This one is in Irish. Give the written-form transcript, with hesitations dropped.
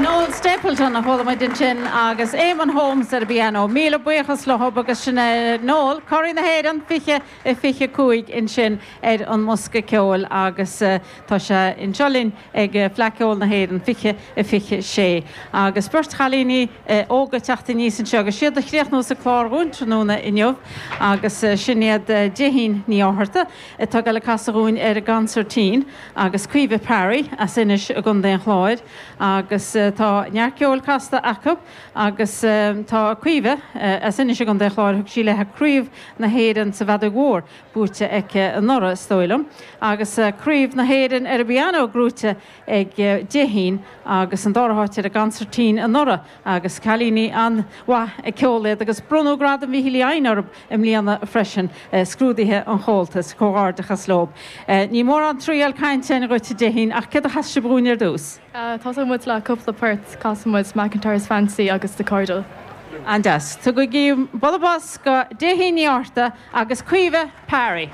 Noel Stapleton a chuala muid ansin agus Eamonn Holmes ar an bpianó. Míle buíochas leo agus sin é Noel, Curaidh na hÉireann 20 a 25 ansin ar an mbosca ceoil agus tá sé anseo linn ag Fleadh Cheoil na hÉireann 20 a 26. Agus beirt chailíní óga ag teacht aníos anseo agus siad a chríochnós an clár dhúinn tráthnóna inniu agus sin iad Déithín Ní Fhátharta atá ag dul ag casadh dhúinn ar an gconsairtín agus Caoimhe Parry as Inis i gContae an Chláir agus tá neart ceoil casta acu agus tá Caoimhe as Inis i gContae an Chláir, thug sí léi Craobh na hÉireann sa bhFeadóg Mhór buaite aici anuraidh is dóigh liom agus Craobh na hÉireann ar an bpianó gnóite ag Déithín agus an dara háit ar an gconsairtín anuraidh agus cailíní an-mhaith ag ceol iad agus bronnadh Gradam Mhichíl Uí Eidhin orthu i mbliana freisin, scrúduithe an Chomhaltais. Comhghairdeachas leo. Ní mórán triail cainte againn dhuit a Déithín ach céard a chas sibh dhúinn ar dtús? Tosóidh muid le cúpla port, casfaidh muid McIntyre's Fancy agus The Cordal. An-deas. Tugaigí bualadh bos do Déithín Ní Fhátharta agus Caoimhe Parry.